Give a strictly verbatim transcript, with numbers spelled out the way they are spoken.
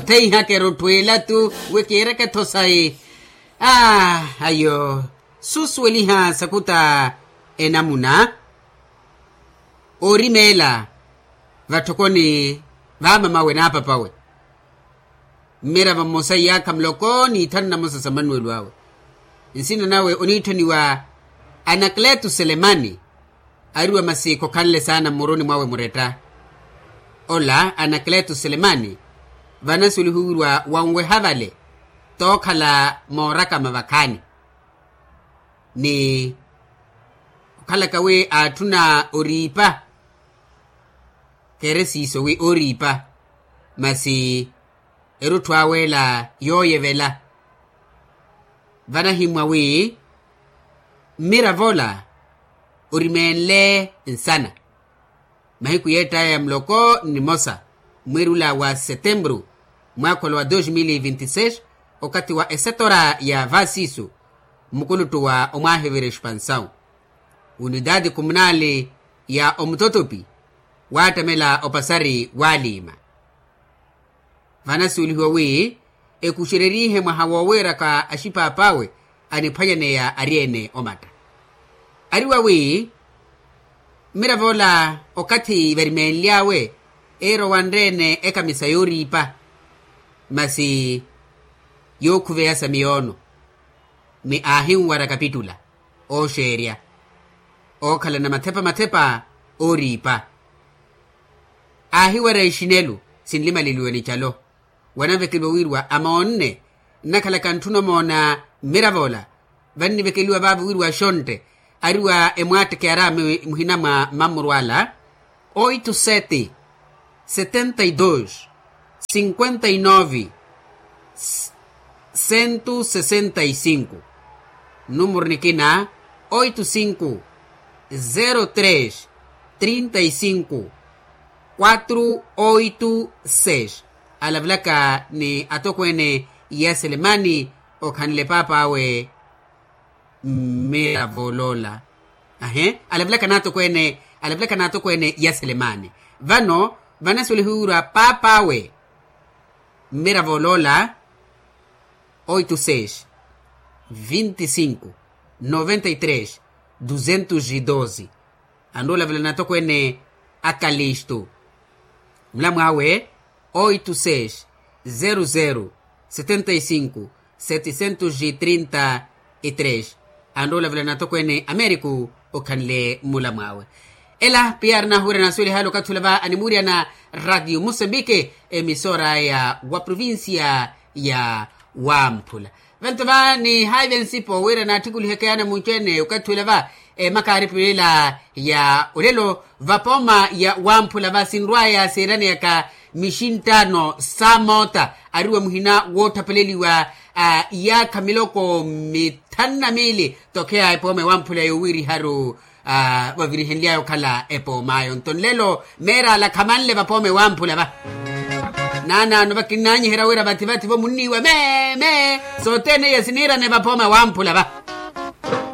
Theihaka erotthu elatu wi kiireke-tho sayi. Aa ayo susuweliha sakuta enamuna oorimeela vatthokoni vaamamawe n'apapawe. Mmiravo mmosa iyaakha muloko n'ithanu na mosa sa manuwelo awe. Nsina nawe oniitthaniwa anakleto selemani. Ariwa masi khokhanle saana mmuruni mwawe muretta. Ola anakleto selemani vanasuwelihiwirwa wanweha vale tookhala moorakama vakhaani. Ni okhalaka wi aatthuna oriipa kheere siiso wi ooriipa masi erutthu awe ela yooyevela. Vanahimmwa wi mmiravo ola orimeenle nsana mahiku yeett'aya ya muloko nnimosa mweri ula wa setempuru mwaakha ola wa dos mil e vinti seis okathi wa esetora ya vaasiisu mmukuluttu wa omwaahivira expansawu unidadi komunali ya omutotopi waattamela opasari waaliima. Vanasuwelihiwa wi ekuxererihe mwaha woowiiraka axipaapawe aniphwanyaneya ari-ene omatta. Ariwa wi mmiravo ola okathi varimeenly'awe iira owanre-ene ekamisa yooriipa masi yookhuveya sa miyoono. Ni aahinwara kapitula ooxeerya ookhalana mathepa mathepa ooriipa. Aahiwara exinelu sinlimaleliwa ni calo wanavekeliwa wiiriwa amoonne nnakhalaka ntthuna omoona mmiravo ola. Vannivekeliwa vaavo wiiriwa axontte ariwa emwaattekeyar'ame muhina mwa mammuru ala oito sete setenta e dos cinquenta e nove cento sessenta e cinco. Numuru nikina oito cinco zero tres trinta e cinco quatro oito seis. Alavelaka ni atokweene ya selemani okhanle paap'awe mmiravo oloola. Ahe alavelaka n'atokweene alavelaka n'atokweene ya selemani. Vano vanasuwelihiwirwa paap'awe mmiravo oloola oito seis vinte cinco noventa e tres duzentos e doze. Anrowa olavela n'atokweene a kalistu mulamw'awe oito seis zero zero setenta e cinco setecentos e trinta e tres. Anrowa olavela n'atokweene ameriku okhanle mmulamw'awe. Ela piya ari nahuwira nasuweliha ale okathi ula va animuuriyana radio musembike emisora ya wa provincia ya wamphula. Vanto va nihaive nsipo wira naattikuliheke yaana munci-ene okathi ula va emakaaripilela ya olelo vapooma ya wamphula va sinrw'aya seeraneyaka mixinttaano sa moota ariwa muhina woottapeleliwa iyaakha miloko mithanu na miili tokheya epooma ewamphula yowiiriharu vavirihenly'aya okhala epoom'ayo nto nlelo meer'ala khamanle vapooma ewamphula va. Naanaano vakinnaanyiherya wira vathi vathi vo munniiwa mee mee sothene iya siniirane vapooma ewamphula va.